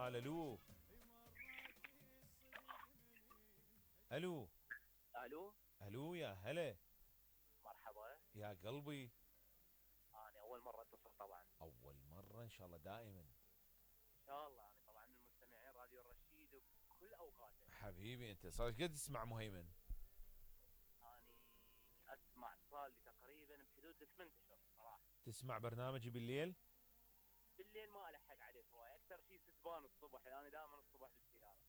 الاتصال. الو الو الو. الو يا هلا. مرحبا. يا قلبي. انا اول مره اتصل طبعا. اول مرة ان شاء الله دائما. ان شاء الله. انا طبعا من مستمعين راديو الرشيد بكل اوقاته. حبيبي انت صار قد تسمع مهيمن؟ اني اسمع صار لي تقريبا بحدود 8 اشهر صراحه. تسمع برنامجي بالليل؟ بالليل ما الحق عليه هواي، اكثر شيء ستبان الصبح، انا دائما الصبح بالسياره.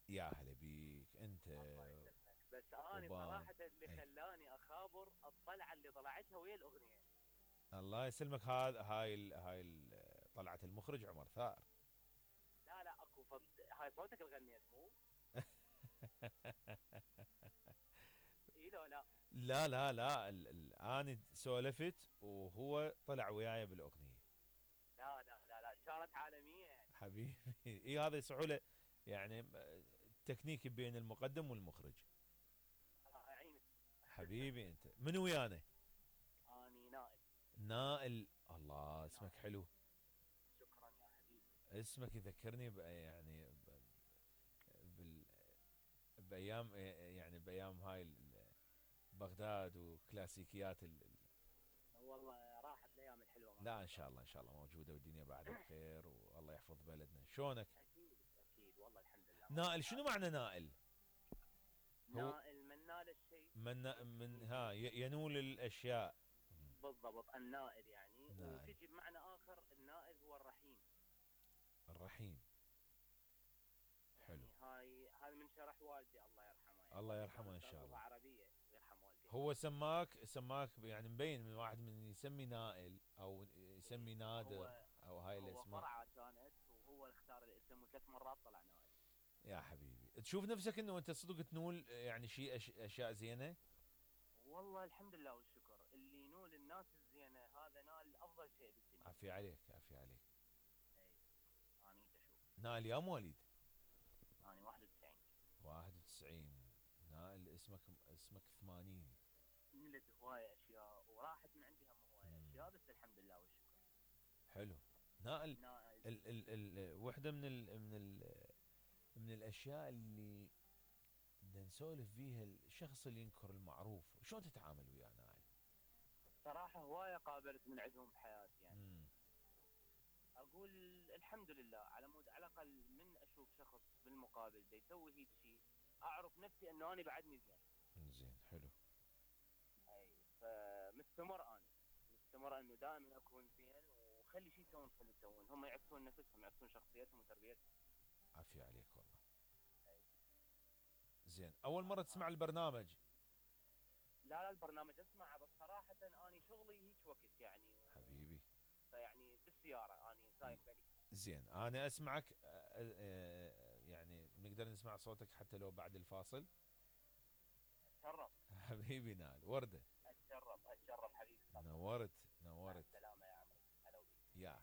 يا هلا بيك انت. الله يسلمك. بس اني وبان صراحه اللي اي. خلاني اخابر الطلعه اللي طلعتها ويا الاغنيه. الله يسلمك. هذا طلعت المخرج عمر ثار. لا لا اكو هاي صوتك اللي غنيت مو؟ اي لو لا. لا لا لا انا سولفت وهو طلع وياي بالاغنيه. لا لا لا لا كانت عالميه يعني. حبيبي اي هذه سهوله يعني. تكنيك بين المقدم والمخرج. الله يعينك. حبيبي انت من ويانا؟ اني نائل. نائل. الله اسمك نائل. حلو. شكرا يا حبيبي. اسمك يذكرني يعني بال بايام يعني بايام هاي بغداد وكلاسيكيات والله راحت الايام الحلوه لا معك ان شاء الله ان شاء الله موجوده والدنيا بعد بخير والله يحفظ بلدنا. شلونك؟ اكيد اكيد والله الحمد لله ماشي نائل شنو الحال. معنى نائل؟ هو نائل من نال الشيء. من ها ينول الاشياء. بالضبط النائل يعني، نائل. وتجي بمعنى اخر النائل هو الرحيم. الرحيم. حلو. يعني هاي من شرح والدي الله يرحمه، يعني الله والدي كان يرحمه ان استاذ شاء لغه الله. عربيه ويرحم والديه. هو سماك يعني مبين من واحد من يسمي نائل او يسمي نادر هو او هاي هو الاسماء. فرعه كانت، وهو اللي اختار الاسم وثلاث مرات طلع نائل. يا حبيبي تشوف نفسك انه انت صدق تنول يعني شيء اشياء زينه؟ والله الحمد لله والشكر، اللي ينول الناس الزينه هذا نال افضل شيء بالدنيا. عافية عليك عافية عليك. اي اني اشوف. نائل يا مواليد؟ اني 91. 91. نائل اسمك 80. نلت هواية اشياء وراحت من عندي هم هواية مم. اشياء، بس الحمد لله والشكر. حلو. نائل. نائل. وحده من الاشياء اللي بدنا نسولف فيها الشخص اللي ينكر المعروف، شلون تتعامل وياه نائل؟ صراحة هواية قابلت من عندهم بحياتي يعني. امم. اقول الحمد لله، على مود على الاقل من اشوف شخص بالمقابل دا يسوي هيك شيء اعرف نفسي انه انا بعدني زين. زين حلو. اي فمستمر انا مستمر انه دائما اكون زين، وخلي شيء يسوون خلي يسوون، هم يعكسون نفسهم يعكسون شخصيتهم وتربيتهم. عافية عليك والله. أي. زين اول مرة تسمع البرنامج؟ لا لا البرنامج اسمعه، بس صراحة اني شغلي هيك وقت يعني حبيبي. فيعني بالسيارة اني سايق بالي. زين انا اسمعك يعني نقدر نسمع صوتك حتى لو بعد الفاصل. اتشرف. حبيبي نائل وردة. اتشرف اتشرف حبيبي. نورت مع نورت. السلامة يا عمري، هلا وبيك. يا